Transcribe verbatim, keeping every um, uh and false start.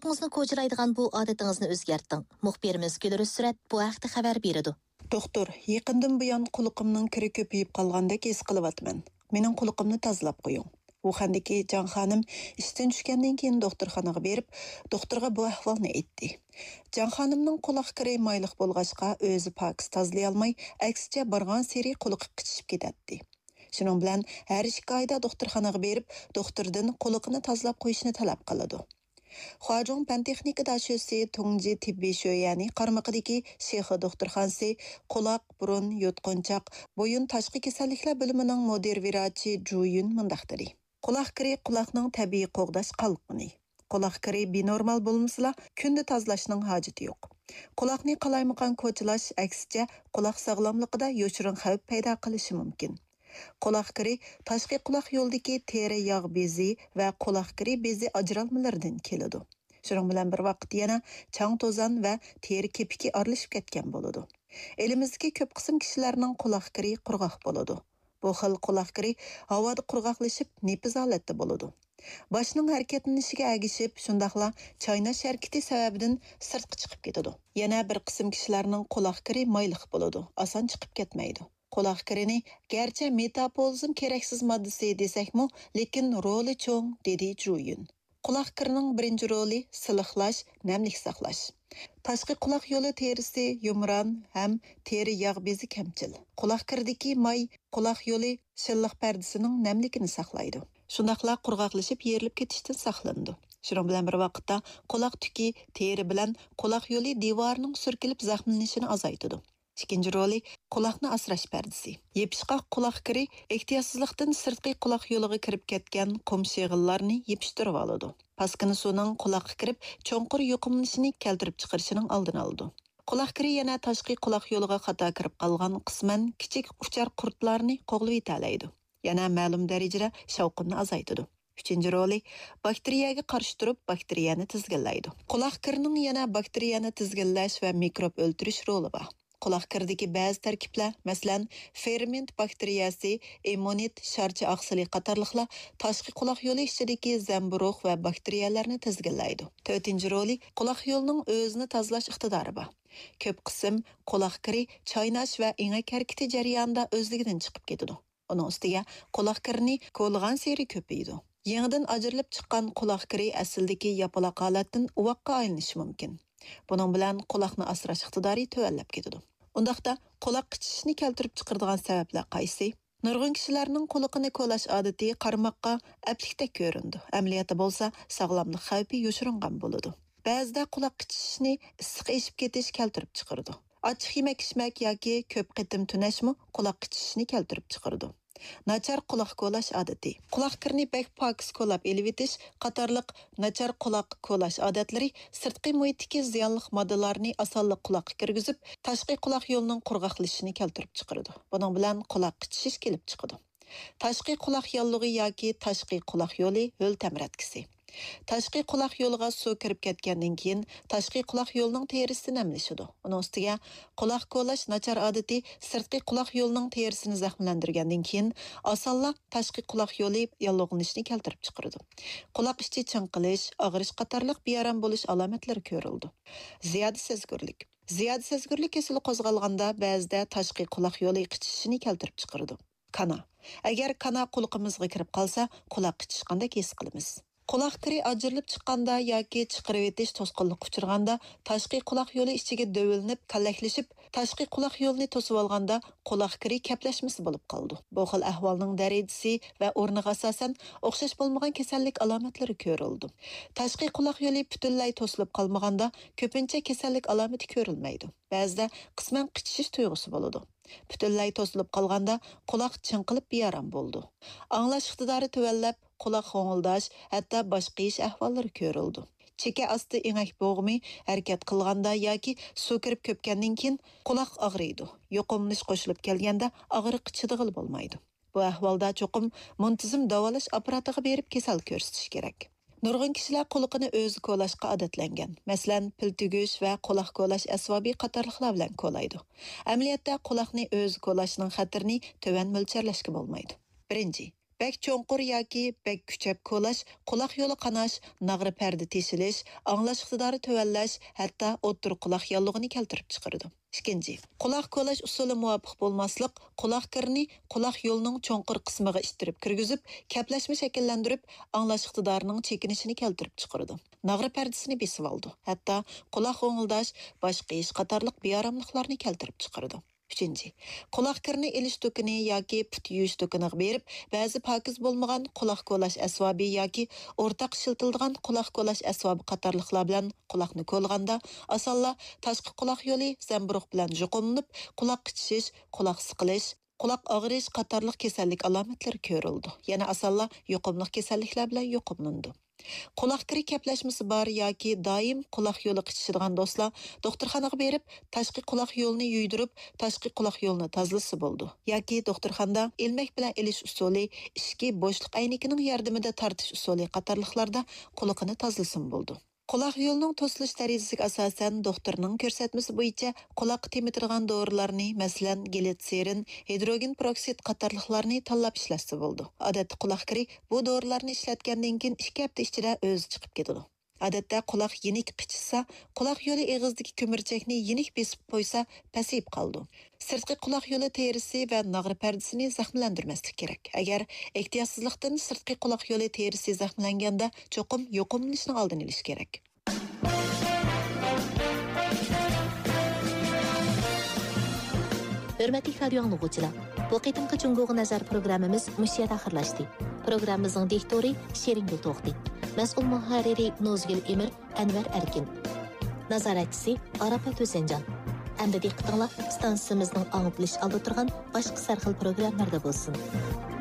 قۇلىقىڭىزنى كوچىلايدىغان بۇ ئادىتىڭىزنى ئۆزگەرتىڭ. مۇخبىرىمىز گۈلرۈسرەت بۇ ھەقتە خەۋەر بېرىدۇ. دوختۇر، يېقىندىن بۇيان قۇلىقىمنىڭ كىرى كۆپىيىپ قالغاندەك ھېس قىلىۋاتىمەن. مېنىڭ قۇلىقىمنى تازىلاپ قويۇڭ. ۋۇخەندىكى جاڭ خانىم ئىشتىن چۈشكەندىن كېيىن دوختۇرخانىغا بېرىپ، دوختۇرغا بۇ ئەھۋالنى ئېيتتى. جاڭ خانىمنىڭ قۇلاق كىرى مايلىق بولغاچقا، ئۆزى پاكىز تازىلىيالماي، ئەكسىچە بارغانسېرى قۇلىقى قىچىشىپ كېتەتتى. شۇنىڭ بىلەن ھەر ئىككى ئايدا دوختۇرخانىغا بېرىپ، دوختۇردىن قۇلىقىنى تازىلاپ قويۇشنى تەلەپ قىلىدۇ. خۇاجۇڭ پەن تېخنىكا داشۆسى تۇڭجى تېببىي شۆيەنى قارمىقىدىكى شىخې دوختۇرخانىسى قۇلاق، بۇرۇن، يۇتقۇنچاق، بويۇن تاشقى كېسەللىكلەر بۆلۈمىنىڭ مۇدىر ۋىراچى جۇ يۈن مۇنداق دېدى: قۇلاق كىرى قۇلاقنىڭ تەبىئىي قوغداش قالقىنى. قۇلاق كىرى بىنورمال بولمىسىلا، كۈندە تازىلاشنىڭ ھاجىتى يوق. قۇلاقنى قالايمىقان كوچىلاش، ئەكسىچە، قۇلاق ساغلاملىقىدا يوشۇرۇن خەۋپ پەيدا قىلىشى مۇمكىن. قۇلاق كىرى تاشقى قۇلاق يولىدىكى تېرە ياغ بېزى ۋە قۇلاق كىرى بېزى ئاجرالمىلىرىدىن كېلىدۇ. شۇنىڭ بىلەن بىر ۋاقىتتا يەنە چاڭ-توزان ۋە تېرە كېپىكى ئارىلىشىپ كەتكەن بولىدۇ. ئېلىمىزدىكى كۆپ قىسىم كىشىلەرنىڭ قۇلاق كىرى قۇرغاق بولىدۇ. بۇ خىل قۇلاق كىرى ھاۋادا قۇرغاقلىشىپ، نېپىز ھالەتتە بولىدۇ. باشنىڭ ھەرىكەتلىنىشىگە ئەگىشىپ، شۇنداقلا چايناش ھەرىكىتى سەۋەبىدىن سىرتقا چىقىپ كېتىدۇ. يەنە بىر قىسىم كىشىلەرنىڭ قۇلاق كىرى مايلىق بولىدۇ، ئاسان چىقىپ كەتمەيدۇ. قۇلاق كىرىنى گەرچە مېتاپولىزم كېرەكسىز ماددىسى دېسەكمۇ، لېكىن رولى چوڭ، دېدى جۇ يۈن. قۇلاق كىرىنىڭ بىرىنچى رولى سىلىقلاش، نەملىك ساقلاش. تاشقى قۇلاق يولى تېرىسى يۇمران ھەم تېرە ياغ بېزى كەمچىل. قۇلاق كىرىدىكى ماي قۇلاق يولى شىللىق پەردىسىنىڭ نەملىكىنى ساقلايدۇ. شۇنداقلا قۇرغاقلىشىپ يېرىلىپ كېتىشتىن ساقلىنىدۇ. شۇنىڭ بىلەن بىر ۋاقىتتا، قۇلاق تۈكى تېرە بىلەن قۇلاق يولى دىۋارىنىڭ سۈركىلىپ زەخىملىنىشىنى ئازايتىدۇ. ئىككىنچى رولى، قۇلاقنى ئاسراش پەردىسى. يېپىشقاق قۇلاق كىرى ئېھتىياتسىزلىقتىن سىرتقى قۇلاق يولىغا كىرىپ كەتكەن قۇم شېغىللارنى يېپىشتۇرۇۋالىدۇ. پاسكىنا سۇنىڭ قۇلاققا كىرىپ، چوڭقۇر يۇقۇملىنىشنى كەلتۈرۈپ چىقىرىشىنىڭ ئالدىنى ئالىدۇ. قۇلاق كىرى يەنە تاشقى قۇلاق يولىغا خاتا كىرىپ قالغان قىسمەن كىچىك ئۇچار قۇرتلارنى قوغلىۋېتەلەيدۇ. يەنە مەلۇم دەرىجىدە شاۋقۇننى ئازايتىدۇ. ئۈچىنچى رولى، باكتېرىيەگە قارشى تۇرۇپ، باكتېرىيەنى تىزگىنلەيدۇ. قۇلاق كىرىنىڭ يەنە باكتېرىيەنى تىزگىنلەش ۋە مىكروب ئۆلتۈرۈش رولى بار. قۇلاق كىرىدىكى بەزى تەركىبلەر، مەسىلەن، فېرمېنت باكتېرىيەسى، ئىممۇنىت، شارچە ئاقسىلى قاتارلىقلار تاشقى قۇلاق يولى ئىچىدىكى زەمبۇرۇغ ۋە باكتېرىيەلەرنى تىزگىنلەيدۇ. تۆتىنچى رولى، قۇلاق يولىنىڭ ئۆزىنى تازىلاش ئىقتىدارى بار. كۆپ قىسىم قۇلاق كىرى چايناش ۋە ئېڭەك ھەرىكىتى جەريانىدا ئۆزلۈكىدىن چىقىپ كېتىدۇ. ئۇنىڭ ئۈستىگە، قۇلاق كىرىنى كولىغانسېرى كۆپىيىدۇ. يېڭىدىن ئاجرىلىپ چىققان قۇلاق كىرى ئەسلىدىكى ياپىلاق ھالەتتىن ئۇۋاققا ئايلىنىشى مۇمكىن. بۇنىڭ بىلەن قۇلاقنى ئاسراش ئىقتىدارى تۆۋەنلەپ كېتىدۇ. ئۇنداقتا، قۇلاق قىچىشىشنى كەلتۈرۈپ چىقىرىدىغان سەۋەبلەر قايسى؟ نۇرغۇن كىشىلەرنىڭ قۇلىقىنى كولاش ئادىتى قارىماققا ئەپلىكتەك كۆرۈنىدۇ، ئەمەلىيەتتە بولسا ساغلاملىق خەۋپى يوشۇرۇنغان بولىدۇ. بەزىدە قۇلاق قىچىشىشنى ئىسسىق ئېشىپ كېتىش كەلتۈرۈپ چىقىرىدۇ. ئاچچىق يېمەك-ئىچمەك ياكى كۆپ قېتىم تۈنەشمۇ قۇلاق قىچىشىشنى كەلتۈرۈپ چىقىرىدۇ. ناچار قۇلاق كولاش ئادىتى. قۇلاق كىرىنى بەك پاكىز كولاپ ئېلىۋېتىش قاتارلىق ناچار قۇلاق كولاش ئادەتلىرى سىرتقى مۇھىتتىكى زىيانلىق ماددىلارنى ئاسانلا قۇلاققا كىرگۈزۈپ، تاشقى قۇلاق يولىنىڭ قۇرغاقلىشىشىنى كەلتۈرۈپ چىقىرىدۇ. بۇنىڭ بىلەن قۇلاق قىچىشىش كېلىپ چىقىدۇ. تاشقى قۇلاق ياللۇغى ياكى تاشقى قۇلاق يولى ھۆل تەمرەتكىسى. تاشقى قۇلاق يولىغا سۇ كىرىپ كەتكەندىن كېيىن، تاشقى قۇلاق يولىنىڭ تېرىسى نەملىشىدۇ. ئۇنىڭ ئۈستىگە، قۇلاق كولاش ناچار ئادىتى سىرتقى قۇلاق يولىنىڭ تېرىسىنى زەخىملەندۈرگەندىن كېيىن، ئاسانلا تاشقى قۇلاق يولى ياللۇغلىنىشنى كەلتۈرۈپ چىقىرىدۇ. قۇلاق ئىچى چىڭقىلىش، ئاغرىش قاتارلىق بىئارام بولۇش ئالامەتلىرى كۆرۈلىدۇ. زىيادە سەزگۈرلۈك. زىيادە سەزگۈرلۈك كېسىلى قوزغالغاندا، بەزىدە تاشقى قۇلاق يولى قىچىشىشىنى كەلتۈرۈپ چىقىرىدۇ. كانا. ئەگەر كانا قۇلىقىمىزغا كىرىپ قالسا، قۇلاق قىچىشقاندەك ھېس قىلىمىز. قۇلاق كىرى ئاجرىلىپ چىققاندا ياكى چىقىرىۋېتىش توسقۇنلۇققا ئۇچرىغاندا، تاشقى قۇلاق يولى ئىچىگە دۆۋىلىنىپ، كاللەكلىشىپ، تاشقى قۇلاق يولىنى توسۇۋالغاندا، قۇلاق كىرى كەپلەشمىسى بولۇپ قالىدۇ. بۇ خىل ئەھۋالنىڭ دەرىجىسى ۋە ئورنىغا ئاساسەن ئوخشاش بولمىغان كېسەللىك ئالامەتلىرى كۆرۈلىدۇ. تاشقى قۇلاق يولى پۈتۈنلەي توسۇلۇپ قالمىغاندا، كۆپىنچە كېسەللىك ئالامىتى كۆرۈلمەيدۇ. بەزىدە قىسمەن قىچىشىش تۇيغۇسى بولىدۇ. پۈتۈنلەي توسۇلۇپ قالغاندا، قۇلاق چىڭقىلىپ بىئارام بولىدۇ. ئاڭلاش ئىقتىدارى تۆۋەنلەپ، قۇلاق غوڭۇلداش، ھەتتا باش قېيىش ئەھۋاللىرى كۆرۈلىدۇ. چېكە ئاستى ئېڭەك بوغۇمى ھەرىكەت قىلغاندا ياكى سۇ كىرىپ كۆپكەندىن كېيىن قۇلاق ئاغرىيدۇ. يۇقۇملىنىش قوشۇلۇپ كەلگەندە، ئاغرىققا چىدىغىلى بولمايدۇ. بۇ ئەھۋالدا چوقۇم مۇنتىزىم داۋالاش ئاپپاراتىغا بېرىپ كېسەل كۆرسىتىش كېرەك. نۇرغۇن كىشىلەر قۇلىقىنى ئۆزى كولاشقا ئادەتلەنگەن. مەسىلەن، پىل تۈگۈش ۋە قۇلاق كولاش ئەسۋابى قاتارلىقلار بىلەن كولايدۇ. ئەمەلىيەتتە، قۇلاقنى ئۆزى كولاشنىڭ خەتىرىنى تۆۋەن مۆلچەرلەشكە بولمايدۇ. بىرىنچى، بەك چوڭقۇر ياكى بەك كۈچەپ كولاش قۇلاق يولى قاناش، ناغرا پەردە تېشىلىش، ئاڭلاش ئىقتىدارى تۆۋەنلەش، ھەتتا ئوتتۇرا قۇلاق ياللۇغىنى كەلتۈرۈپ چىقىرىدۇ. ئىككىنچى، قۇلاق كولاش ئۇسۇلى مۇۋاپىق بولماسلىق قۇلاق كىرىنى قۇلاق يولىنىڭ چوڭقۇر قىسمىغا ئىتتىرىپ كىرگۈزۈپ، كەپلەشمە شەكىللەندۈرۈپ، ئاڭلاش ئىقتىدارىنىڭ چېكىنىشىنى كەلتۈرۈپ چىقىرىدۇ. ناغرا پەردىسىنى بېسىۋالىدۇ. ھەتتا قۇلاق غوڭۇلداش، باش قېيىش قاتارلىق بىئاراملىقلارنى كەلتۈرۈپ چىقىرىدۇ. ئۈچىنچى، قۇلاق كىرىنى ئېلىش دۇكىنى ياكى پۇت يۇيۇش دۇكىنىغا بېرىپ، بەزى پاكىز بولمىغان قۇلاق كولاش ئەسۋابى ياكى ئورتاق ئىشلىتىلىدىغان قۇلاق كولاش ئەسۋابى قاتارلىقلار بىلەن قۇلاقنى كولىغاندا، ئاسانلا تاشقى قۇلاق يولى زەمبۇرۇغ بىلەن يۇقۇملىنىپ، قۇلاق قىچىشىش، قۇلاق سىقىلىش، قۇلاق ئاغرىش قاتارلىق كېسەللىك ئالامەتلىرى كۆرۈلىدۇ. يەنە ئاسانلا يۇقۇملۇق كېسەللىكلەر بىلەن يۇقۇملىنىدۇ. قۇلاق كىرى كەپلەشمىسى بار ياكى دائىم قۇلاق يولى قىچىشىدىغان دوستلار دوختۇرخانىغا بېرىپ، تاشقى قۇلاق يولىنى يۇيدۇرۇپ، تاشقى قۇلاق يولىنى تازىلىسا بولىدۇ. ياكى دوختۇرخانىدا ئىلمەك بىلەن ئېلىش ئۇسۇلى، ئىچكى بوشلۇق ئەينىكىنىڭ ياردىمىدە تارتىش ئۇسۇلى قاتارلىقلاردا قۇلىقىنى تازىلىسىمۇ بولىدۇ. قۇلاق يولىنىڭ توسۇلۇش دەرىجىسىگە ئاساسەن، دوختۇرنىڭ كۆرسەتمىسى بويىچە قۇلاققا تېمىتىدىغان دورىلارنى، مەسىلەن، گلىتسېرىن، ھىدروگېن پېروكسىد قاتارلىقلارنى تاللاپ ئىشلەتسە بولىدۇ. ئادەتتە قۇلاق كىرى بۇ دورىلارنى ئىشلەتكەندىن كېيىن ئىككى ھەپتە ئىچىدە ئۆزى چىقىپ كېتىدۇ. ئادەتتە قۇلاق يېنىك قىچىشسا، قۇلاق يولى ئېغىزىدىكى كۆمۈرچەكنى يېنىك بېسىپ قويسا، پەسىيىپ قالىدۇ. سىرتقى قۇلاق يولى تېرىسى ۋە ناغرا پەردىسىنى زەخىملەندۈرمەسلىك كېرەك. ئەگەر ئېھتىياتسىزلىقتىن سىرتقى قۇلاق يولى تېرىسى زەخىملەنگەندە، چوقۇم يۇقۇملىنىشنىڭ ئالدىنى ئېلىش كېرەك. ھۆرمەتلىك رادىيو ئاڭلىغۇچىلار، بۇ قېتىمقى جۇڭگوغا نەزەر پروگراممىمىز مۇشۇ يەردە ئاخىرلاشتى. پروگراممىمىزنىڭ دىكتورى شېرىنگۈل توختى، مەسئۇل مۇھەررىرى نۇزگۈل ئىمىر، ئەنۋەر ئەركىن، نازارەتچىسى ئاراپەت ھۈسەنجان. ئەمدى دىققىتىڭلار ئىستانسىمىزنىڭ ئاڭلىتىلىش ئالدىدا تۇرغان باشقا سەرخىل پروگراممىلاردا بولسۇن.